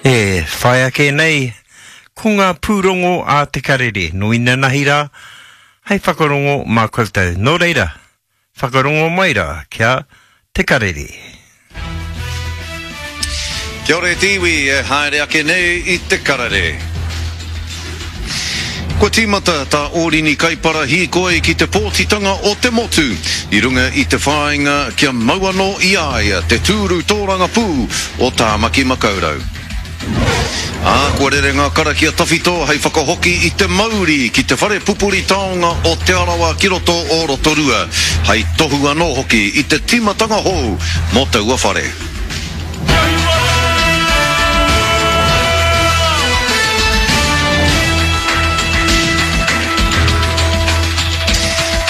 E whai ake nei ko ngā pūrongo a Te Karere nō inanahi rā hei whakarongo mā koutou. Nō reira, whakarongo mai rā ki a Te Karere. Kia ora e te iwi e haere ake nei i Te Karere. Kua tīmata tā Ōrini Kaipara hīkoi ki te pōtitanga o te motu i runga i te whāinga kia mau anō i a ia te tūru tōrangapū o Tāmaki Makaurau. Ā, kua rere ngā karakia tawhito hei whakahoki i te mauri ki te whare pupuri taonga o Te Arawa ki roto o Rotorua, hei tohu anō hoki i te tīmatanga hou mō taua whare.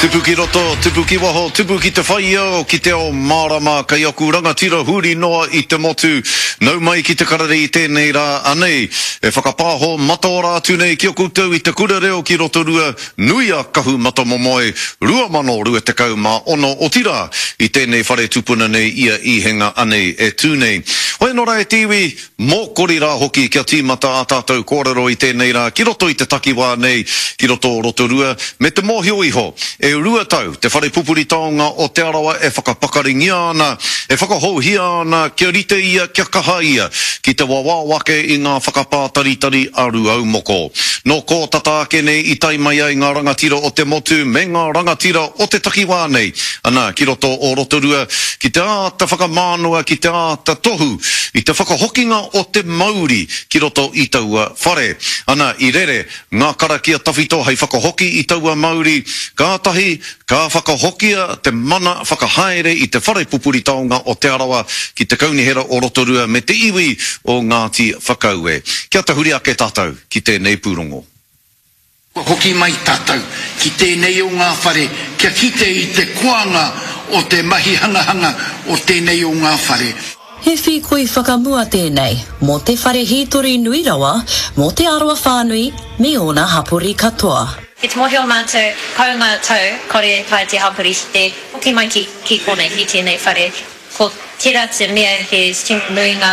Tupu ki roto, tupu ki waho, tupu ki te whaiao, ki te ao mārama, kei aku rangatira huri noa i te motu. Nau mai ki te karere i tēnei rā, anei, e whakapāho mataora atu nei ki a koutou i te kura reo ki Rotorua, Nui a Kahumatamomoe 2026, otirā, i tēnei whare tupuna nei i a Īhenga anei e tū nei. Hoi anō rā e te iwi, mōkori rā hoki kia tīmata ā tātou kōrero i tēnei rā ki roto i te takiwā nei, ki roto o Rotorua, me te mōhio iho, e rua tau te whare pupuri taonga o Te Arawa e whakapakaringia ana, e whakahouhia ana kia rite ia, kia kaha ia ki te wawao ake i ngā whakapātaritari a Rūaumoko. Nō kō tata ake nei i tae mai ai ngā rangatira o te motu me ngā rangatira o te takiwā nei, ana, ki roto o Rotorua, ki te āta whakamānawa, ki te āta tohu i te whakahokinga o te mauri ki roto i taua whare. Ana, i rere ngā karakia tawhito hei whakahoki i taua mauri, kātahi ka whakahokia te mana whakahaere i te whare pupuri taonga o Te Arawa ki te Kaunihera o Rotorua me te iwi o Ngāti Whakaue. Kia tahuri ake tātou ki tēnei pūrongo. Kua hoki mai tātou ki tēnei o ngā whare kia kite i te koanga o te mahi hangahanga o tēnei o ngā whare. He whīkoi whakamua tēnei mō te whare hītori nui rawa mō Te Arawa whānui me ōna hapori katoa. Ki te mōhio mātou, kounga tau, kore e taea te hapori ki te hoki mai ki ki konei, ki tēnei whare. Ko tērā te mea he tino nui ngā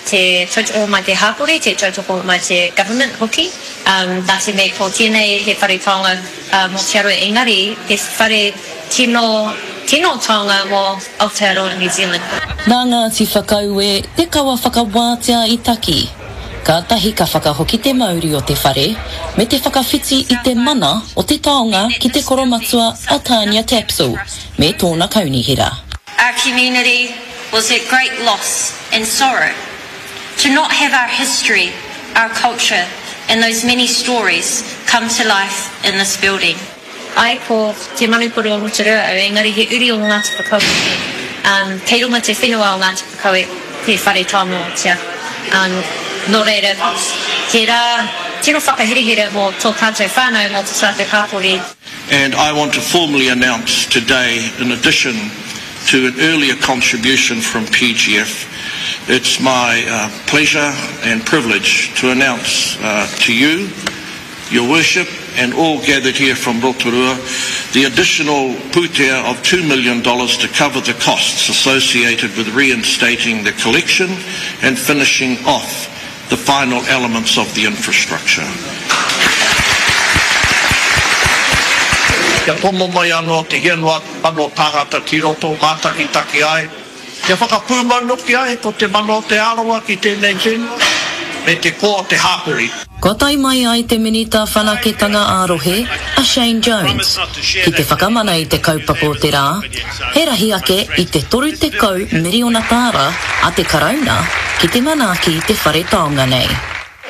te tautoko mai te hapori, te tautoko mai te government hoki. Nā te mea ko tēnei he whare taonga mō Te Arawa engari he whare tino, tino taonga mō Aotearoa New Zealand. Nā Ngāti Whakaue te kawa whakawātea i taki. Kātahi ka whakahoki te mauri o te whare me te whakawhiti i te mana o te taonga ki te koromatua a Tania Tapsell me tōna kaunihera. Our community was at great loss and sorrow to not have our history, our culture and those many stories come to life in this building. Ae ko Te Manukore o Rotorua au engari he uri o Ngāti Whakaue hoki. Um, kei runga te whenua o Ngāti Whakaue te whare taonga o Te Arawa. Um, nō reira, he rā tino whakaherehere mō tō tātou whānau, mō tō tātou hapori. And I want to formally announce today, in addition to an earlier contribution from PGF, it's my uh, pleasure and privilege to announce uh, to you Your Worship, and all gathered here from Rotorua, the additional pūtea of $2 million to cover the costs associated with reinstating the collection and finishing off the final elements of the infrastructure. Kia tomo mai anō te hia noa atu tāngata ki roto mātakitaki ai. Kia whakapūmau noki ai ko te mana o Te Arawa ki tēnei whenua, me te koa o te hāpori. Kua tae mai ai te Minita Whanaketanga ā-Rohe, a Shane Jones, ki te whakamana i te kaupapa o te rā, he rahi ake i te 30 miriona tāra a te Karauna ki te manaaki i te whare taonga nei.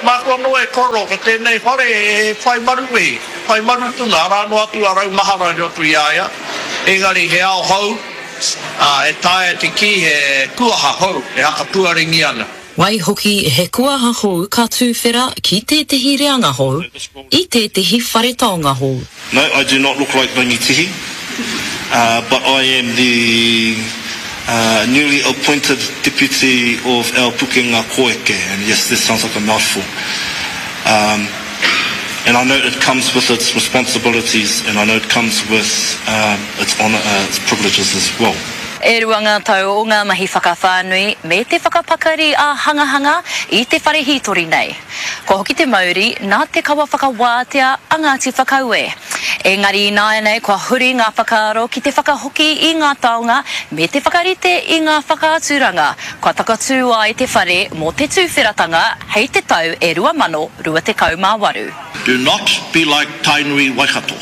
Māku anō e koro ko tēnei whare e whai maruwehi, e whai marutuna, arā noa atu a Raumahara i roto i a ia, engari he ao hou, ā, e taea te kī he kuaha hou e hakapuarengia ana. Waihoki he kuaha hou ka tūwhera ki tētehi reanga hou, i tētehi whare taonga hou. No, I do not look like Rangitihi, but I am the newly appointed deputy of our Pukenga Koeke, and yes, this sounds like a mouthful. Um, and I know it comes with its responsibilities, and I know it comes with um, its honor, uh, its privileges as well. E rua ngā tau o ngā mahi whakawhānui me te whakapakari ā-hangahanga i te whare hītori nei. Kua hoki te mauri nā te kawa whakawātea a Ngāti Whakaue. Engari ināianei kua huri ngā whakaaro ki te whakahoki i ngā taonga me te whakarite i ngā whakaaturanga kua takatū ai te whare mō te tūwheratanga hei te tau e 2028. Do not be like Tainui Waikato,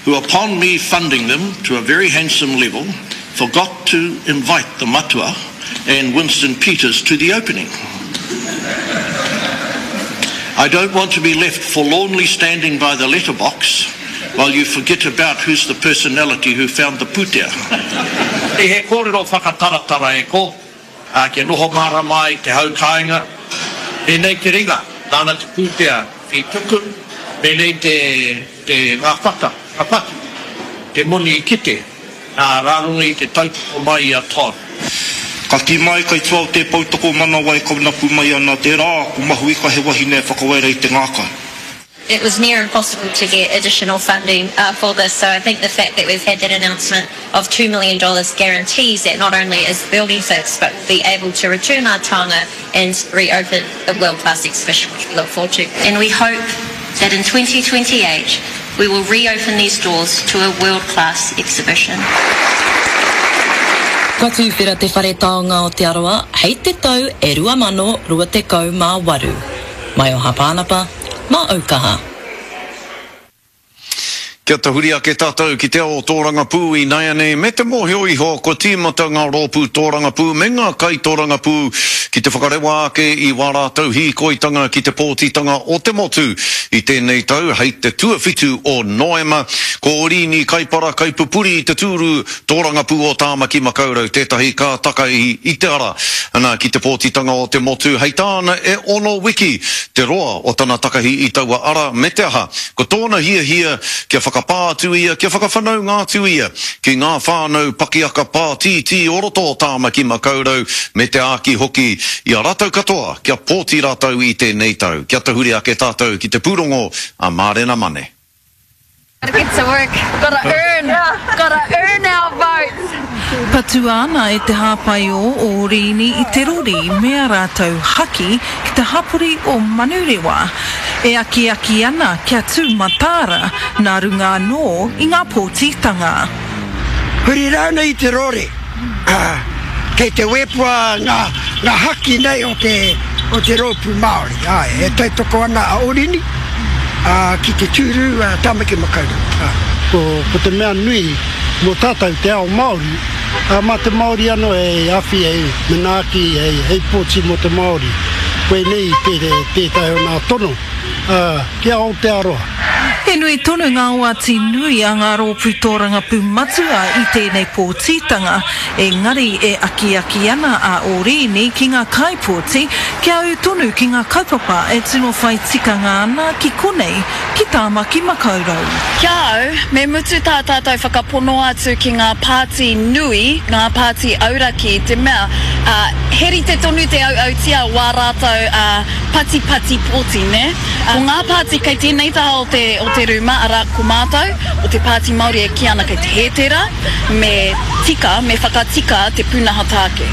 who upon me funding them to a very handsome level, forgot to invite the matua and Winston Peters to the opening. I don't want to be left forlornly standing by the letterbox while you forget about who's the personality who found the pūtea. He kōrero whakataratara e ko, ā, kia noho mārama ai te hau kāinga, pēnei te ringa, nāna te pūtea i tuku, pēnei te, te, ngā whata, ngā whatu, te moni i kite, nā, rā runga i te tautoko mai i a Todd. Ka kī mai kai tua o tē poutokomanawa e kaunapu mai ana, tērā ko Mahuika he wahine e whakawaera i te ngākau. It was near impossible to get additional funding for this, so I think the fact that we've had that announcement of $2 million guarantees that not only is the building fixed, but we'll be able to return our taonga and reopen the world-class exhibition, which we look forward to. And we hope that in 2028 we will reopen these doors to a world-class exhibition. Kua tuwhera te Whare Taonga o Te Arawa hei te tau e 2028. Maioha Pānapa, mā Aukaha. Kia tahuri ake tātou ki te ao tōrangapū ināianei me te mōhio iho kua tīmata ngā rōpū tōrangapū me ngā kaitōrangapū ki te whakarewa ake i wā rātou hīkoitanga ki te pōtitanga o te motu i tēnei tau hei te tuawhitu o Noema. Ko Oriini Kaipara kaipupuri i te tūru Tōrangapū o Tāmaki Makaurau tētahi ka takahi i te ara ana ki te pōtitanga o te motu, hei tāna e ono wiki te roa o tana takahi i taua ara me te aha, ko tōna hiahia kia whakapā atu ia, kia whakawhanaunga atu ia ki ngā whānau pakiaka pātītī o roto o Tāmaki Makaurau me te āki hoki i a rātou katoa kia pōti rātou i tēnei tau. Kia tahuri ake tātou ki te pūrongo a Mārena Mane. Gotta get to work, gotta earn, gotta earn our votes. Patua ana e te hāpaiō o Riini i te rori me a rātou haki ki te hapori o Manurewa, e akiaki ana kia tū mataara nā runga anō i ngā pōtitanga. Huri rānei i te rori, ā, kei te wēpua ngā, ngā haki nei o te, o te rōpū Māori. Āe, e tautoko ana a Orini, ā, ki te tūru a Tāmaki Makaurau. Āe. Ko, ko te mea nui mō tātou te ao Māori, ā, mā te Māori anō hei awhi, hei manaaki, hei, hei pōti mō te Māori. Koinei tē, tētahi o nā tono. ā, ki Aotearoa. He nui tonu ngā oati nui a ngā rōpū tōrangapū matua i tēnei pōtitanga, engari e akiaki ana a Orīni ki ngā kaipōti kia ū tonu ki ngā kaupapa e tino whai tikanga ana ki konei, ki Tāmaki Makaurau. Ki a au, me mutu tā tātou whakapono atu ki ngā pāti nui, ngā pāti auraki, i te mea, ā, he rite tonu te auautia o ā rātou, ā, Patipati pōti, nē? Ko ngā pāti kei tēnei taha o te, o te rūma, arā, ko mātou, o te Pāti Māori e kī ana kei te hē tērā, me tika, me whakatika te pūnaha tāke.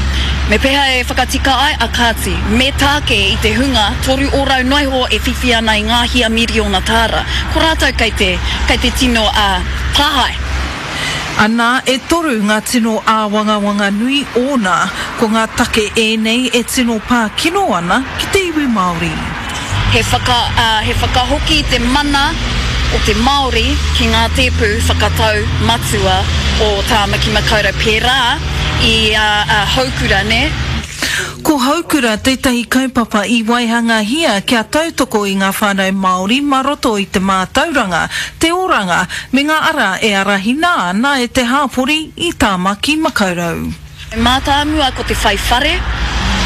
Me pēhea e whakatika ai? A kāti, me tāke i te hunga 3% noa iho e whiwhi ana i ngā hia miriona tāra. Ko rātou kei te, kei te tino, ā, tāhae. Anā, e toru ngā tino āwangawanga nui ōna, ko ngā take ēnei e tino pā kino ana ki te iwi Māori. He whaka, ā, he whakahoki i te mana o te Māori ki ngā tēpu whakatau matua o Tāmaki Makaurau pērā i a, a Houkura, nē? Ko Houkura tētahi kaupapa i waihangahia kia tautoko i ngā whānau Māori mā roto i te mātauranga, te oranga, me ngā ara e arahina ana e te hāpori i Tāmaki Makaurau. Mātāmua ko te whai whare,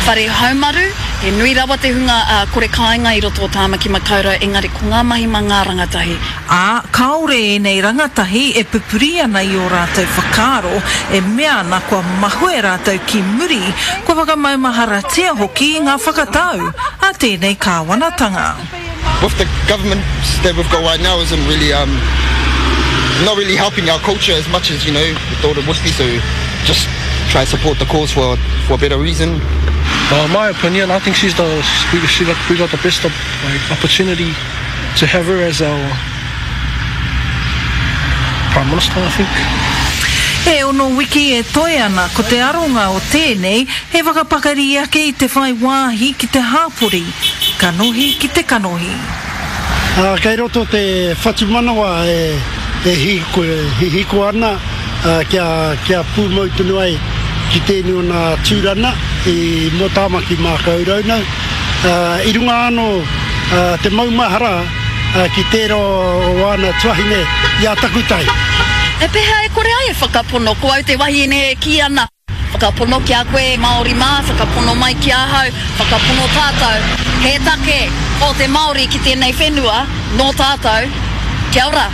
whare haumaru, he nui rawa te hunga kore kāinga i roto o Tāmaki Makaurau engari ko ngā mahi mā ngā rangatahi. Ā, kāore ēnei rangatahi e pupuri ana i ō rātou whakaaro, e mea ana kua mahue rātou ki muri, kua whakamaumaharatia hoki i ngā whakatau a tēnei kāwanatanga. With the government that we've got right now isn't really um not really helping our culture as much as you know we thought it would be so. just try and support the cause for, for a better reason. Well, in my opinion, I think she's the we, she got, we got the best like, opportunity to have her as our Prime Minister, I think. E ono wiki e toe ana, ko te aronga o tēnei he whakapakari ake i te whai wāhi ki te hāpori, kanohi ki te kanohi. Ā, kei roto te whatumanawa e hihiko ana kia pūmau tonu ai ki tēnei o nā tūrana i mō Tāmaki Mākaurau nau. I runga anō te maumahara ki tērā o āna tuahine i a Takutai. He pēhea e kore ai e whakapono, ko au te wahine e kī ana. Whakapono ki a koe e Māori mā, whakapono mai ki ahau, whakapono tātou. He take ō te Māori ki tēnei whenua, nō tātou. Kia ora.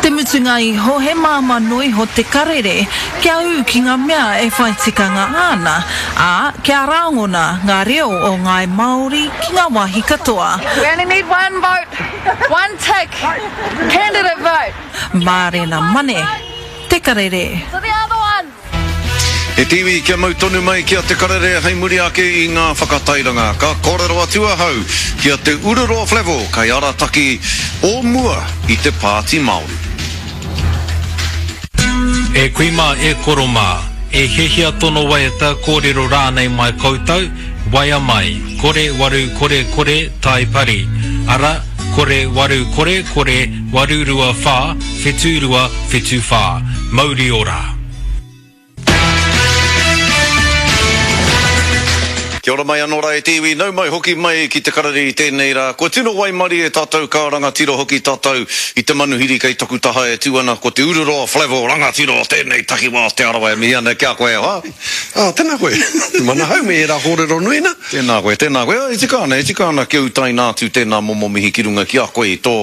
Te mutunga iho he māmā noa iho te karere kia ū ki ngā mea e whai tikanga ana, ā, kia rāngona ngā reo o ngāi Māori ki ngā wāhi katoa. We only need one vote, one tick, candidate vote. Mārena Mane, Te Karere. To the other one. He tīwi kia mau tonu mai ki a Te Karere hei muri ake i ngā whakatairanga. Ka kōrero atu ahau ki a Te Ururoa Flavell, kaiarataki o mua i te Pāti Māori. E kui mā, e koro mā, e hiahia tono waiata, kōrero rānei mai koutou, waea mai, kore waru kore kore tai pari, ara, kore waru kore kore 8 2 4 7 2 7 4. Mauri ora! Kia ora mai anō rā e te iwi, nau mai hoki mai ki te karere i tēnei rā. Kua tino waimarie tātou ka rangatira hoki tātou i te manuhiri kei taku taha e tū ana ko Te Ururoa Flavell rangatira o tēnei takiwā o Te Arawa e mihi ana ki a koe e hoa. Ā, tēnā koe. Manahau me ērā kōrero nui nā. Tēnā koe, tēnā koe. E tika ana, e tika ana kia utaina atu tēnā momo mihi ki runga ki a koe i tō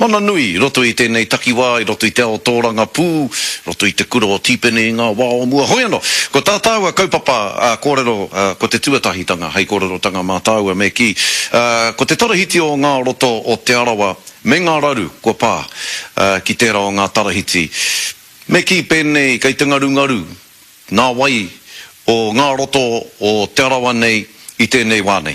mana nui i roto i tēnei takiwā, i roto i te ao tōrangapū, i roto i te kura o Tīpene i ngā wā o mua. Hoi anō, ko tā tāua kaupapa kōrero, ko te tuatahitanga hei kōrerotanga mā tāua me kī, ko te tarahiti o ngā roto o Te Arawa me ngā raru kua pā ki tērā o ngā tarahiti. Me kī pēnei kei te ngarungaru Ngā wai o ngā roto o Te Arawa nei i tēnei wā nei.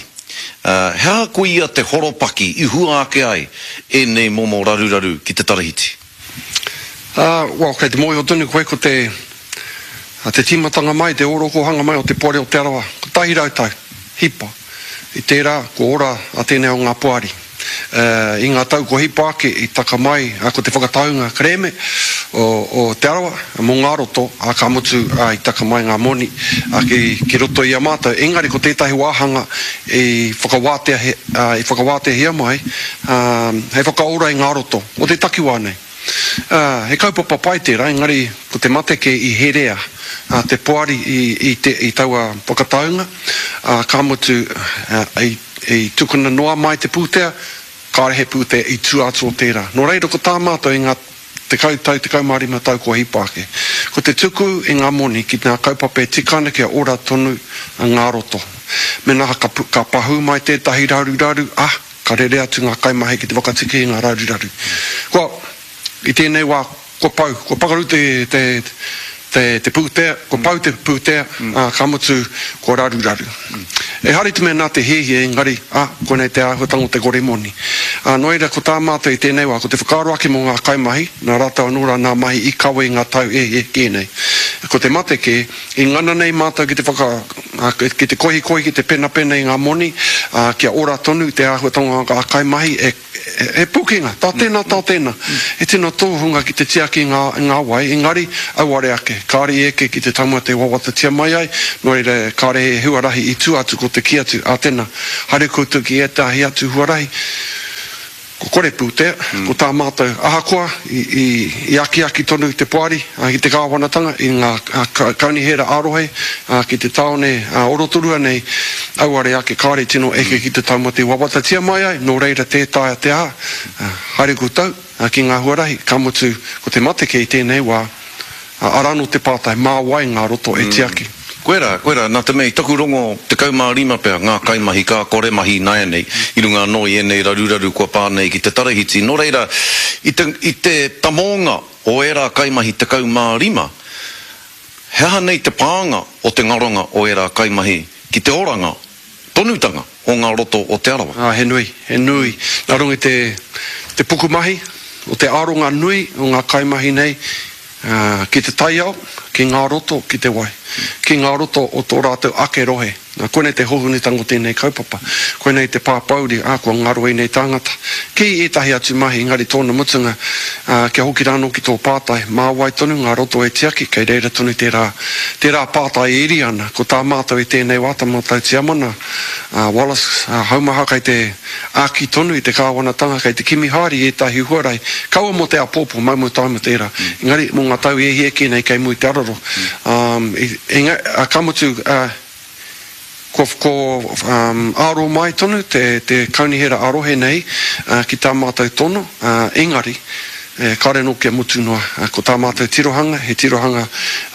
He aha koia te horopaki i hua ake ai ēnei momo raruraru ki te tarahiti? Well, kei te mōhio tonu koe ko te, te tīmatanga mai, te ōrokohanga mai o te Poari o Te Arawa, 100 tau, hipa. I tērā, kua ora a tēnei o ngā poari. I ngā tau kua hipa ake, i taka mai ko te whakataunga kerēme o Te Arawa mō ngā roto, ā, ka mutu i taka mai ngā moni ki roto i a mātou. Engari ko tētahi wāhanga i whakawāteahia mai hei whakaora i ngā roto o te takiwā nei. He kaupapa pai tērā, engari ko te mate kē i herea te poari i taua whakataunga, ka mutu i tukuna noa mai te pūtea, kāore he pūtea i tua atu o tērā. Nō reira ko tā mātou i ngā tekau tau, 15 tau kua hipa ake, ko te tuku i ngā moni ki ngā kaupapa e tika ana kia ora tonu ngā roto. Mēnā ka pahū mai tētahi raruraru, ā, Ka rere atu ngā kaimahi ki te whakatiki i ngā raruraru. Kua, i tēnei wā, kua pau, kua pakaru te, te, te, te pūtea, kua pau te pūtea, ā, ka mutu, kua raruraru. Ehara i te mea nā te hiahia, engari, ā, koinei te āhuatanga o te kore moni. Ā, nō reira, ko tā mātou i tēnei wā, ko te whakaaro ake mō ngā kaimahi, nā rātou anō rā nā mahi i kawe i ngā tau e hē nei. Ko te mate kē, I ngana nei mātou ki te whaka, ki te kohikohi, ki te penapena i ngā moni, ā, kia ora tonu te āhuatanga o ngā kaimahi, e, he pukenga, tā tēnā, tā tēnā. He tino tōhunga ki te tiaki i ngā, i ngā wai, engari, auare ake, kāore i eke ki te taumata i wawatatia mai ai, nō reira, kāore he huarahi i tua atu ko te kī atu, ā tēnā, haere koutou ki ētahi atu huarahi. Ko kore pūtea, ko tā mātou, ahakoa i akiaki tonu te poari ki te kāwanatanga i ngā kaunihera ā-rohe ki te tāone o Rotorua nei, auare ake kāore i tino eke ki te taumata i wawatatia mai ai, nō reira tē taea te aha, haere koutou ki ngā huarahi, ka mutu ko te mate kē i tēnei wā. Arā anō te pātai, mā wai ngā roto e tiaki? Koirā, koirā, nā te mea i taku rongo 15 pea ngā kaimahi ka kore mahi ināianei, i runga anō i ēnei raruraru kua pā nei ki te tarahiti. Nō reira, i te, i te tamōnga o ērā kaimahi 15, he. He aha nei te pānga o te ngaronga o ērā kaimahi ki te oranga tonutanga o ngā roto o Te Arawa? Ā, he nui, he nui. Nā runga i te, te pukumahi, o te aronga nui o ngā kaimahi nei, ā, ki te taiao, ki ngā roto, ki te wai, ki ngā roto o tō rātou ake rohe. Nā, koinei te hōhonutanga o tēnei kaupapa. Koinei te pāpōuri, ā, kua ngaro ēnei tāngata. Ki ētahi atu mahi, engari tōna mutunga, ā, kia hoki rānō ki tō pātai, mā wai tonu ngā roto e tiaki, kei reira tonu tērā, tērā pātai e iri ana. Ko tā mātou i tēnei wā, tā mātou tiamana, a Wallace, a Haumaha kei te āki tonu i te kāwanatanga, kei te kimi haere i ētahi huarahi, kaua mō te āpōpō, mau taima tērā, engari mō ngā tau e hia kē nei kei mua i te araro. Ā, ā, ka mutu, ā, kua, kua, ā, aro mai tonu te, te kaunihera ā-rohe nei, ā, ki tā mātou tono, ā, engari, e, kāore anō kia mutu noa. Ā, ko tā mātou tirohanga, he tirohanga,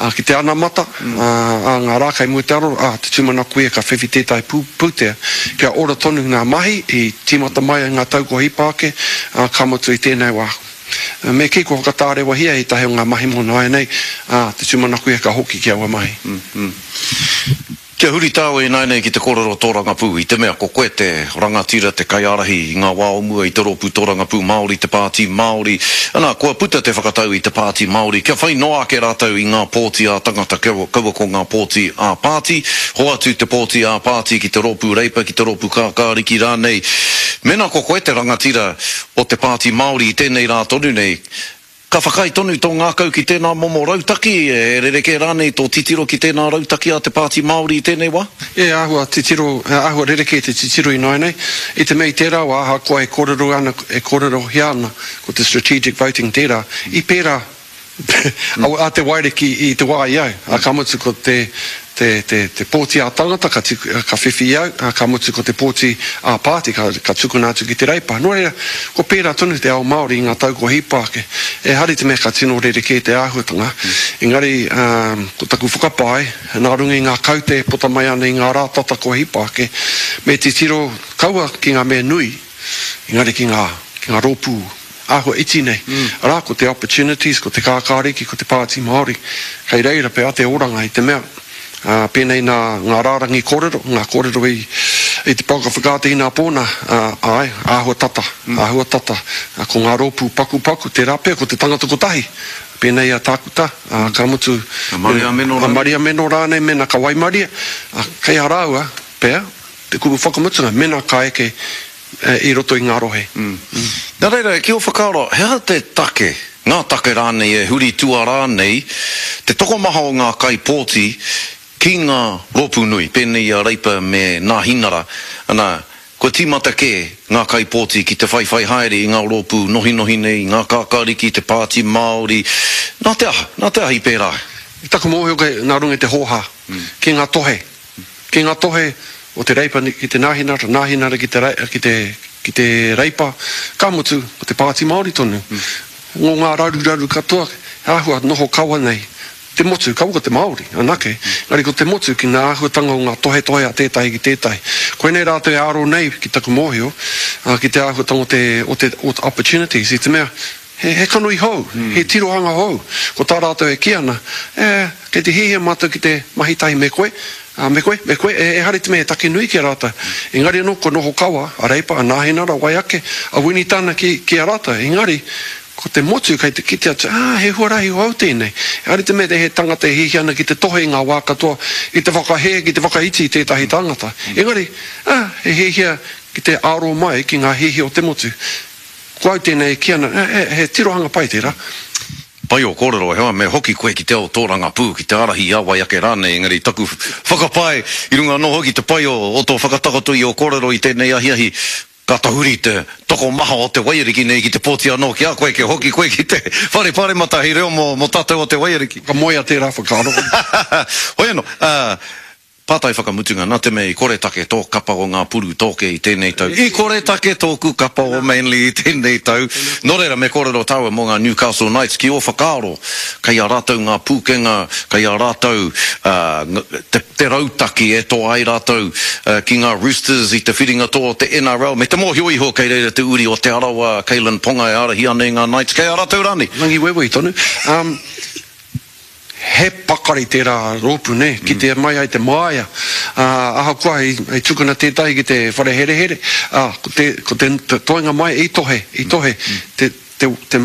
ā, ki te anamata, ā, ā ngā rā kei mua i te aroro, ā, te tūmanako ia ka whiwhi tētahi pū, pūtea kia ora tonu ngā mahi i tīmata mai ai ngā tau kua hipa ake, ā, ka mutu i tēnei wā. Me kī kua whakatārewahia ētahi o ngā mahi mō nāianei, ā, te tūmanako ia ka hoki ki aua mahi. Kia huri tāua ināianei ki te kōrero tōrangapū, i te mea ko koe te rangatira, te kaiārahi i ngā wā o mua i te Rōpū Tōrangapū Māori, te Pāti Māori. Anā, kua puta te whakatau i te Pāti Māori kia whai noa ake rātou i ngā pōti ā-tangata, kaua ko ngā pōti ā-pāti. Hoatu te pōti ā-pāti ki te Rōpū Reipa, ki te Rōpū Kākāriki rānei. Mēnā ko koe te rangatira o te Pāti Māori i tēnei rā tonu nei, ka whakaae tonu tō ngākau ki tēnā momo rautaki, e rerekē rānei tō titiro ki tēnā rautaki a te Pāti Māori i tēnei wā? E āhua titiro, e āhua rerekē te titiro ināianei, i te mea i tērā wā ahakoa e kōrero ana, e kōrerohia ana ko te strategic voting tērā, i pērā A te Wairiki i te wā i au, a ka mutu ko te, te, te, te pōti ā-tangata ka tiku, ka whiwhi i au, a ka mutu ko te pōti ā-pāti ka, ka tukuna atu ki te Reipa. Nō reira, kua pērā tonu te ao Māori i ngā tau kua hipa ake. Ehara i te mea ka tino rerekē te āhuatanga, engari, ā, ko taku whakapae, nā runga i ngā kaute e puta mai ana i ngā rā tata kua hipa ake, me titiro kaua ki ngā mea nui, engari ki ngā, ki ngā rōpū āhua iti nei, arā, ko te Opportunities, ko te Kākāriki, ko te Pāti Māori, kei reira pea te oranga i te mea, ā, pēnei nā ngā rārangi kōrero, ngā kōrero i, i te pouaka whakaata inapō nā, ā, āe, āhua tata, āhua tata, ā, ko ngā rōpū pakupaku, tērā pea ko te tangata kotahi, pēnei a Tākuta, ā, ka mutu, A Maria Meno rānei. A Maria Meno rānei mēnā ka waimaria, ā, kei a rāua pea te kupu whakamutunga mēnā ka eke i roto i ngā rohe. Nā reira, ki ō whakaaro, he aha te take, ngā take rānei e huri tuarā nei te tokomaha o ngā kaipōti ki ngā rōpū nui, pēnei i a Reipa me Nāhinara, ana, kua tīmata kē ngā kaipōti ki te whaiwhai haere i ngā rōpū nohinohi nei, ngā kākāriki, te Pāti Māori, nā te aha, nā te aha i pērā ai? I taku mōhio kei nā runga i te hōhā ki ngā tohe Ki ngā tohe o te Reipa ki te Nāhinara, Nāhinara ki te, ki te, ki te Reipa, ka mutu, ko te Pāti Māori tonu. Ngō ngā raruraru katoa, he āhua noho kawa nei te motu, kaua ko te Māori anake, engari ko te motu ki ngā āhuatanga o ngā tohetohe a tētahi ki tētahi. Koinei rātou e aro nei, ki taku mōhio, ki te āhuatanga o te, o te, o te opportunities, i te mea, He, he kanohi hou, he tirohanga hou. Ko tā rātou e kī ana, E, kei te hiahia mātou ki te mahi tahi me koe, ā, me koe, me koe, e, ehara i te mea he take nui ki a rātou. Engari anō, kua noho kawa a Reipa, a Nāhinara, wai ake, a Winitana ki, ki a rātou. Engari, ko te motu kei te kite atu, ā, he huarahi hou tēnei. Ehara i te mea he tangata e hiahia ana ki te tohe i ngā wā katoa, ki te whakahē, ki te whakaiti i tētahi tangata. Engari, ā, he hiahia ki te aro mai ki ngā hiahia o te motu. Ko au tēnei e kī ana, he tirohanga pai tērā. Pai ō kōrero, heoi me hoki koe ki te ao tōrangapū, ki te ārahi i a wai ake rānei, engari taku whakapae i runga anō hoki te pai o tō whakatakoto i ō kōrero i tēnei ahiahi, ka tahuri te tokomaha o te waiariki nei ki te pōti anō ki a koe kia hoki koe ki te whare paremata hei reo mō tātou o te waiariki. Ka moea tērā whakaaro. Hoi anō, Pātai whakamutunga, nā te mea i koretake tō kapa o ngā puru tōke i tēnei tau, i koretake tōku kapa o Manly i tēnei tau, nō reira me kōrero tāua mō ngā Newcastle Knights, ki ō whakaaro, kei a rātou ngā pūkenga, kei a rātou te, te rautaki e toa ai rātou ki ngā Roosters i te whiringa toa o te NRL, me te mōhio iho kei reira te uri o Te Arawa, Kalyn Ponga e ārahi ana i ngā Knights, kei a rātou rānei? Rangiwewehi tonu. Um. He pakari tērā rōpū, nē, kitea mai ai te māia, ā, ahakoa i, i tukuna tētahi ki te whare herehere, ā, ko te, ko te toenga mai i tohe, i tohe, te, te, te,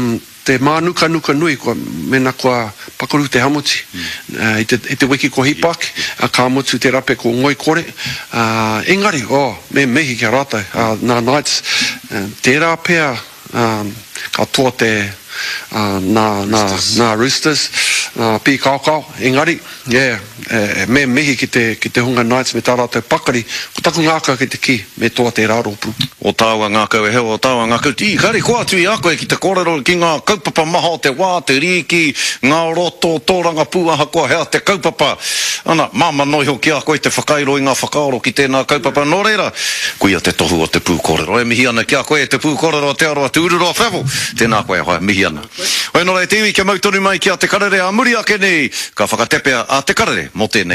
te mānukanuka nui kua, mēnā kua pakaru te hamuti, ā, i te, i te wiki kua hipa ake, ā, ka mutu te rape ko ngoikore, ā, engari, oh, me mihi ki a rātou, ā, nā Knights, tērā pea, ā, ka toa te, ā, nā, nā, nā Roosters, nā Pīkaokao, engari, yeah, e, me mihi ki te, ki te hunga Knights me tā rātou pakari, ko taku ngākau ki te kī, me toa tērā rōpū. O tāua ngākau e heo, o tāua ngākau, i kare koa atu i a koe ki te kōrero ki ngā kaupapa maha o te wā, te rīki, ngā roto, tōrangapū, ahakoa hea te kaupapa. Ana, māmā noa iho ki a koe te whakairo i ngā whakaaro ki tēnā kaupapa, nō reira, Koia te tohu o te pūkōrero. E mihi ana ki a koe e te pūkōrero a Te Arawa Te Ururoa Flavell. Tēnā koe e hoa, mihi ana. Hoi nō reira te iwi kia mau tonu mai ki a Te Karere ā muri ake nei ka whakatepea a Te Karere mō tēnei.